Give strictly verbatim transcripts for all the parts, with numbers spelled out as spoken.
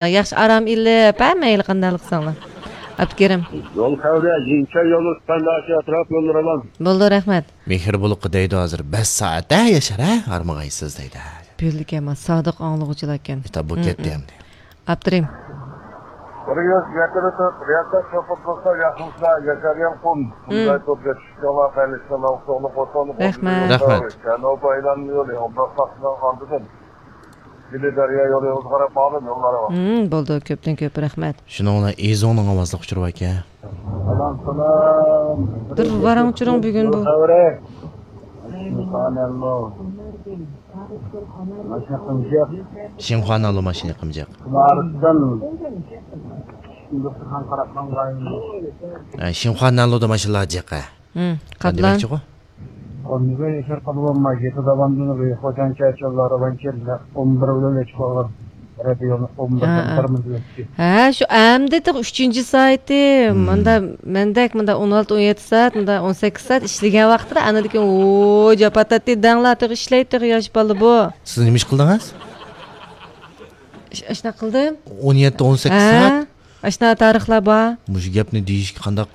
ياخشى ئارام ئېلىپ، ھە، مەيلى قانداقلا قىلساڭلار. ئابدۇكېرىم. يول خەۋىرى، يېڭىچە يولى، سۈپەنداشى ئەتراپ يوللىرى ئامان. بولدى، رەھمەت. مېھرى بولۇققا دەيدۇ ھازىر، بەش سائەت، ھە، ياشار، ھە، ھارمىغايسىز دەيدۇ. بىلدىكەنما، سادىق ئاڭلىغۇچىلاركەن. ئېيتاپ، بۇ كەتتى ئەمدى. ئاپتىرىم. بىر يۈز يەتتە تۆت، رىياسەت شوپۇر قىلسا ياخشىمىسىلەر، ياشار يالقۇن. بۇنداي توپ يېتىشىشكەڭلار، خەيرلىشىڭلار، ئۇتۇقلۇق بولسۇن. رەھمەت. رەھمەت. كەنوبا ئايلانما يولى، ئوبدان ساقچىنىڭ ئالدىدىن. دىلى دەريا يولى، ئۆزى قاراپ ماڭىدۇ، يوللار بار. ھىم، بولدى، كۆپتىن كۆپ رەھمەت. شۇنىڭ بىلەن ئېزۇڭنىڭ ئاۋازلىق ئۇچۇرى باركەن. سالام، سالام. بىر ۋاراڭ-چۇرۇڭ بۈگۈن بۇ. خەۋىرى. شىنخۇا نانلۇ ماشىنا يېقىمجىق. شىنخۇا نانلۇ ماشىنا يېقىمجىق. ھە، شىنخۇا نانلۇدا ماشىنىلار جىق، ھە. ھىم، قابلان. دېمەكچىغۇ؟ ئون بىر ياشار قابلانما، يېتى داۋامدىن خوجانچە چوللار بانكىر ئون بىر بىلەن ئۆچۈپ قالغان. رادىيونى ئون بىردىن ھە، ھە. بىر مىنۇت ئۆتتى. ھە، شۇ ئەمدى تېخى ئۈچىنچى سائىتى. ھىم. ماندا مەندەك، ماندا ئون ئالتە، ئون يەتتە سائەت، ماندا ئون سەككىز سائەت ئىشلىگەن ۋاقىتتا، ئاندىن كېيىن، ۋوي، جاپا تارتتى دەڭلار، تېخى ئىشلەيدۇ، تېخى ياش بالا بۇ. سىز نېمە ئىش قىلدىڭىز؟ ئىش-، ئاشۇنداق قىلدىم. ئون يەتتە، ئون سەككىز ھە، سائەت؟ ئاشۇنداق تارىخلار بار. مۇشۇ گەپنى دېيىشكە قانداق؟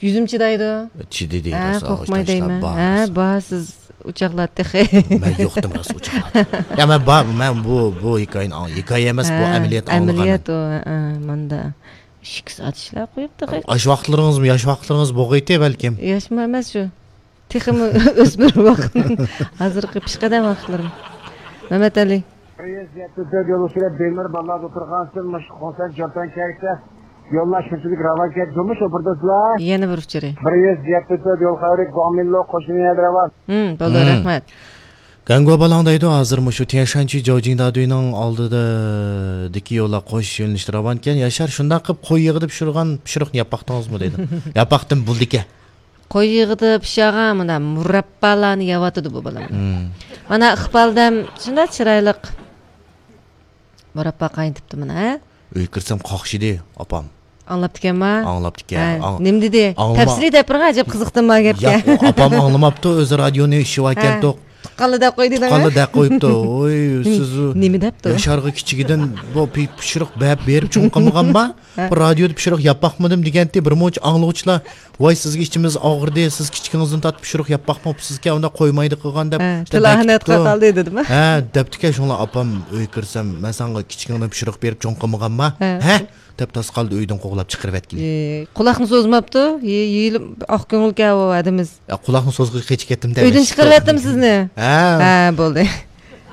يۈزۈم چىدايدۇ. چىدىدى، ھە، راست، قورقماي دەيمەن. ھە، بار، سىز ئۇچاقلار تېخى. مەن يوقتىم، راست، ئۇچاقلار. يا، مەن بار، مەن بۇ، بۇ ھېكايىنى ئاڭ-، ھېكايە ئەمەس، بۇ ھە، ئەمەلىيەت ئاڭلىغان. ئەمەلىيەت ئۇ، ھە، ماندا. ئىككى سائەت ئىشلەپ قويۇپتۇ. ئاش ۋاقىتلىرىڭىزمۇ ياش ۋاقىتلىرىڭىز بولغىيتى بەلكىم؟ ياشمۇ ئەمەس شۇ. تېخىمۇ ئۆسمۈر ۋاقىت. ھازىرقى پېشقەدەم ۋاقىتلىرىم. مەمەتئەلى. بىر يۈز يەتتە تۆت يول ئۈستىدە بىمەر بالىلار دوختۇرخانىسىدىن مۇشۇ قونسەرت جورتان كەيتە يوللار شۇنچىلىك راۋان كەيتە، جۇمۇ شوپۇردا سىلەر. يەنە بىر ئۇچۇرى. بىر يۈز يەتتە تۆت يول خەۋىرى گۇاڭمىنلو قوشۇن يەردە راۋان. ھىم، بولدى، ھىم. رەھمەت. گەنگۇ بالاڭ دەيدۇ، ھازىر مۇشۇ تيەنشانچى جاۋجىڭدادۈينىڭ ئالدىدىكى يوللار قوش يۆنىلىشتە راۋانكەن. ياشار، شۇنداق قىلىپ قوي يېغىدا پىشۇرغان پىشۇرۇقنى يەپ باقتىڭىزمۇ دەيدۇ. يەپ باقتىم، بولدىكەن. قوي يېغىدا پىشارغان مۇنداق مۇراببالارنى يەۋاتىدۇ بۇ بالام. ھىم. مانا ئىقبال دەم شۇنداق چىرايلىق مۇراببا قاينىتىپتۇ مانا، ھە؟ ئۆيگە كىرسەم قاقشىدى ئاپام. ئاڭلاپتىكەنما؟ ئاڭلاپتىكەن. ھە، ئاڭ-، نېمە دېدى؟ ئاڭلىما-، تەپسىلىي دەپ بېرىڭ، ئەجەب قىزىقتىم ما گەپكە. ياق، ئاپام ئاڭلىماپتۇ، ئۆزى رادىيونى ئىشلىۋەركەنتۇق. ھە. تۇغقانلا دەپ قويدى دەڭ. تۇغقانلا دەپ قويۇپتۇ. ۋوي، سىز نېمە دەپتۇ؟ ياشارغا كىچىكىدىن بۇ پى-، پىشۇرۇق بەپ بېرىپ چوڭ قىلمىغانما؟ ھە. بۇ رادىيودا پىشۇرۇق ياپ باقمىدىم دېگەنتى، بىر مۇنچە ئاڭلىغۇچىلار، ۋاي، سىزگە ئىچىمىز ئاغرىدى، سىز كىچىكىڭىزدىن تارتىپ پىشۇرۇق ياپ باقماپسىزكەن، ئۇنداق قويمايدۇ قىلغان دەپ، ھە، تىل ئاھەنەت قاتالدى دېدىم. ھە، دەپتىكەن، شۇڭلا ئاپام ئۆيگە كىرسەم، مەن ساڭا كىچىكىڭدىن پىشۇرۇق بېرىپ چوڭ قىلمىغانما؟ ھە. ھە؟ دەپ تاسقالدا ئۆيدىن قوغلاپ چىقىرىۋەتكىلى. ئى، قۇلاقنى سوزماپتۇ، يې-، يېيىلىپ ئاق كۆڭۈلكەن ئۇ ئادىمىز. يا، قۇلاقنى سوزغىچە قېچىپ كەتتىم دە. ئۆيدىن چىقىرىۋەتتىم سىزنى. ھە. ھە، بولدى.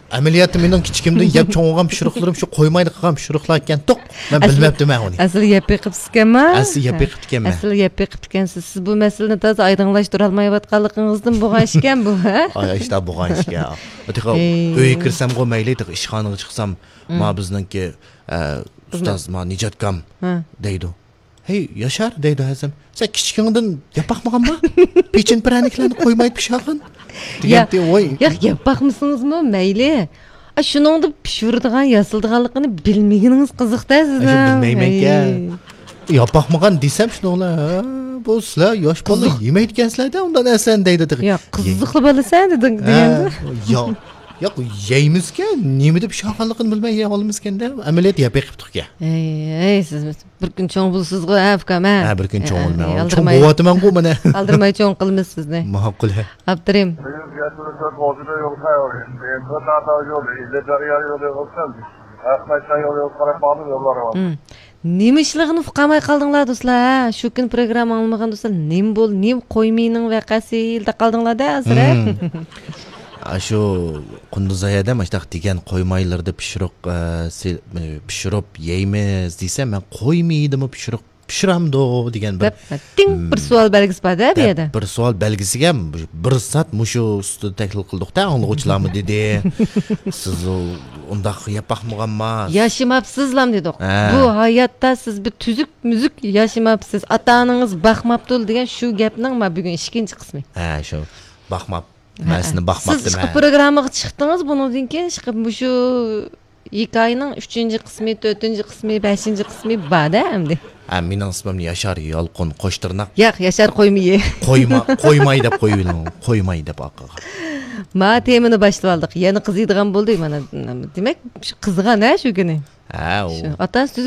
ئەمەلىيەتتە مېنىڭ كىچىكىمدىن يەپ چوڭ بولغان پىشۇرۇقلىرىم شۇ قويمايدۇ قىلغان پىشۇرۇقلاركەنتۇق. مەن بىلمەپتىمەن ئۇنى. ئەسلى يەپ بېقىپسىكەنما؟ ئەسلى يەپ بېقىپتىكەنمەن. ئەسلى يەپ بېقىپتىكەنسىز. سىز بۇ مەسىلىنى تازا ئايدىڭلاشتۇرالمايۋاتقانلىقىڭىزدىن بولغان ئىشكەن بۇ، ھە؟ ئاي، ئىشتا بولغان ئىشكەن. تېخى ئۆيگە كىرسەمغۇ مەيلى، تېخى ئىشخانىغا چىقسام، ما بىزنىڭكى، ئە، ئۇستاز، ما نىجاتكام دەيدۇ. ھەي، ياشار، دەيدۇ ھەزەم، سەن كىچىكىڭدىن ياپ باقمىغانما؟ پېچىن پىرەنىكلەرنى قويماي پىشارغىن دېگەنتى، ۋاي. ياق، ياپ باقمىسىڭىزمۇ مەيلى. ئا، شۇنىڭدا پىشۇرىدىغان، ياسىلىدىغانلىقىنى بىلمىگىنىڭىز قىزىق-دە سىزنىڭ. ئاشۇ بىلمەيمەنكەن. ھەي. ياپ باقمىغان دېسەم شۇنىڭلا، ھە، بۇ سىلەر ياش بالا يېمەيدىكەنسىلەر-دە، ئۇنداق نەرسىنى دەيدۇ تېخى. ياق، قىزىقلا بالىسەن دېدىڭ دېگەندە. ياق، ياق، يەيمىزكەن، نېمە دەپ پىشارغانلىقىنى بىلمەي يەۋالىمىزكەن-دە، ئەمەلىيەتتە يەپ بېقىپتۇقكەن. ھەي، ھەي، سىز بىر كۈن چوڭ بولىسىزغۇ، ھە، ئۇكام، ھە؟ ھە، بىر كۈن چوڭ بولىمەن. چوڭ بولۇۋاتىمەنغۇ مانا. ئالدىرىماي چوڭ قىلىمىز سىزنى. ماقۇل، ھە. ئاپتىرىم. نېمە ئىشلىغىنى ئۇقالماي قالدىڭلار دوستلار، ھە؟ شۇ كۈنى پروگرامما ئاڭلىمىغان دوستلار، نېمە بول-، نېمە قويمىنىڭ ۋەقەسى دەپ قالدىڭلار-دە ھازىر، ھە؟ ئاشۇ قۇندۇزاي ھەدەم ئاشتاق دېگەن قويمايلىرىدا پىشۇرۇق، ئە، سى-، ئە، پىشۇرۇپ يەيمىز دېسە، مەن قويمىدىمۇ پىشۇرۇق پىشۇرامدۇ دېگەن بىر دەپ، تىڭ بىر سوئال بەلگىسى بار-دە بۇ يەردە. بىر سوئال بەلگىسىگە بىر سائەت مۇشۇ ئۈستىدە تەھلىل قىلدۇق-دە، ئاڭلىغۇچىلارمۇ دېدى. سىز ئۇنداق ياپ باقمىغانما؟ ياشىماپسىزلام دېدۇق. ھە. بۇ ھاياتتا سىز بىر تۈزۈك-مۈزۈك ياشىماپسىز، ئاتا-ئانىڭىز باقماپتۇ دېگەن شۇ گەپنىڭ ما بۈگۈن ئىككىنچى قىسمى. ھە، شۇ. باقماپ. ھە، مەن سېنى باقماپتىمەن. سىز ئىشقىلىپ پروگراممىغا چىقتىڭىز، بۇنىڭدىن كېيىن ئىشقىلىپ مۇشۇ ھېكايىنىڭ ئۈچىنچى قىسمى، تۆتىنچى قىسمى، بەشىنچى قىسمى بار-دە ئەمدى. ھە، مېنىڭ ئىسمىم ياشار يالقۇن قوشتىرناق. ياق، ياشار قويمىيى. قويما-، قويماي دەپ قويۇۋېلىڭ. قويماي دەپ ئارقىغا. ما تېمىنى باشلىۋالدۇق. يەنە قىزىيدىغان بولدى مانا. دېمەك، شۇ قىزغان ھە شۇ كۈنى. ھە، ئۇ. شۇ ئاتا ئانىسى